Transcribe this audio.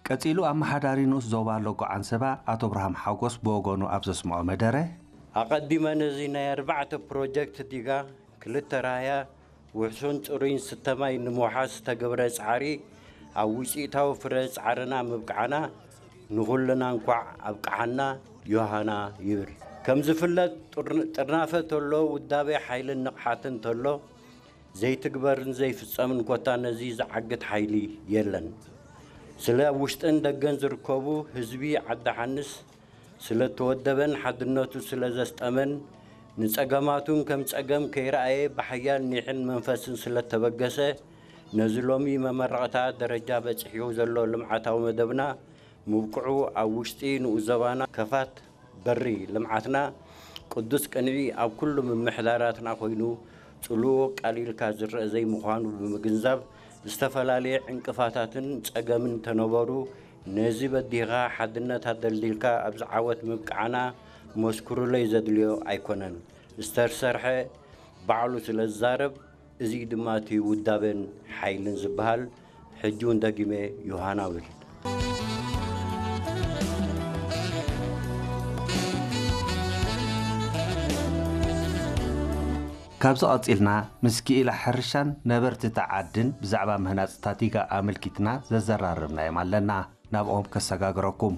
ቀጺሉ ኣመሓዳሪ ንኡስ ዞባ ሎጎ ዓንሰባ ኣቶ ኣብርሃም ሓጎስ ብወገኑ ኣብ ዘስምዖ መደረ፣ ኣቐዲመ ነዚ ናይ ኣርባዕተ ፕሮጀክት ዲጋ ክልተ ራህያ ውሕሱን ጽሩይን ስተ ማይ ንምውሓስ ዝተገብረ ጻዕሪ ኣብ ውጽኢታዊ ፍረ ጻዕርና ምብቃዕና ንኹልና እንኳዕ ኣብቅዓና ዮሃና ይብል። ከም ዝፍለጥ ጥር- ጥርናፈ ተሎ ውዳቤ ሓይልን ንቕሓትን ተሎ ዘይትግበርን ዘይፍጸምን ኮታ ነዚ ዝዓግት ሓይሊ የለን። ስለ ኣብ ውሽጥን ደገን ዝርከቡ ህዝቢ ዓዲ ሓንስ ስለ እተወደበን ሓድነቱ ስለ ዘስጠመን ንጸገማቱን ከም ጸገም ከይረኣየ ብሓያል ኒሕን መንፈስን ስለ እተበገሰ ነዚ ሎሚ መመረቕታ ደረጃ በጺሑ ዘሎ ልምዓታዊ መደብና ምብቅዑ ኣብ ውሽጢ ንኡስ ዞባና ከፋት በሪ ልምዓትና ቅዱስ ቅንዒ ኣብ ኩሉ ምምሕዳራትና ኮይኑ ጽልኡ ኣቃሊልካ ዝረአ ዘይምዃኑ ብምግንዛብ ዝተፈላለየ ዕንቅፋታትን ጸገምን እንተነበሩ ነዚ በዲህኻ ሓድነት ኣደልዲልካ ኣብዚ ዓወት ምብቅዓና መስክሩለይ ዘድልዮ ኣይኮነን። ዝተሰርሐ ባዕሉ ስለ ዝዛረብ እዚ ድማ እቲ ውዳበን ሓይልን ዝበሃል ሕጂ እውን ደጊመ ዮሃና እብል። ካብዚ ቀጺልና ምስ ክኢላ ሕርሻን ነበርቲ እታ ዓድን ብዛዕባ ምህናጽ ታቲጋ ኣመልኪትና ዘዘራረብናዮም ኣለና። ናብኦም ከሰጋግረኩም።